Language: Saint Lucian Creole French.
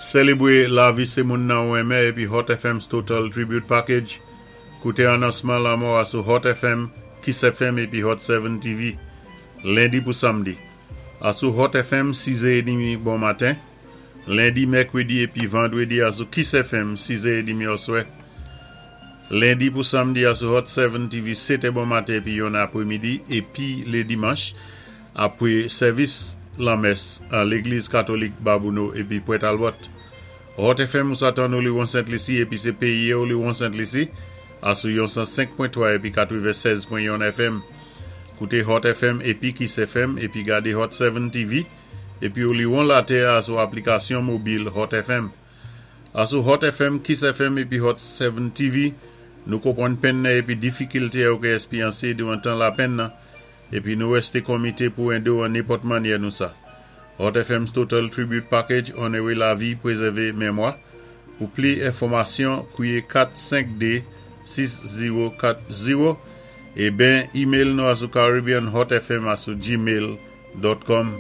Sélébwé lavi sé moun-nan ou renmen épi Hot FM's Total Tribute Package. Kouté anonsman lanmò a sou Hot FM, Kiss FM épi Hot 7 TV. Lendi pou samdi. Asou Hot FM 6 è bon maten. Lendi, mèkwédi épi vandwédi asou Kiss FM 6 è oswè. Lendi pou samdi asou Hot 7 TV 7 bon maten épi yon apwémidi épi lé dimanch apwé sèvis lanmès an légliz katolik Babouno épi Pwent Albert. Hot FM ou sa tann ou liwon Sent Lisi épi sé péyi ou liwon Sent Lisi asou yon 105.3 épi 96.1 FM. Kouté Hot FM épi Kiss FM épi gadé Hot 7 TV épi ou liwon latè asou aplikasyon mobil Hot FM. Asou Hot FM, Kiss FM épi Hot 7 TV, nou konpwann penn-nan épi difikilté ou ké èspéryansé diwan tan lapenn-nan épi nou wèsté konmité pou édé ou an nenpòt mannyè nou sa. Hot FM's Total Tribute Package onoré lavi, pwézèvé mémwa. Pou pli enfòmasyon, kwiyé 452 6040 é ben email nou asou caribbeanhotfm asou gmail.com.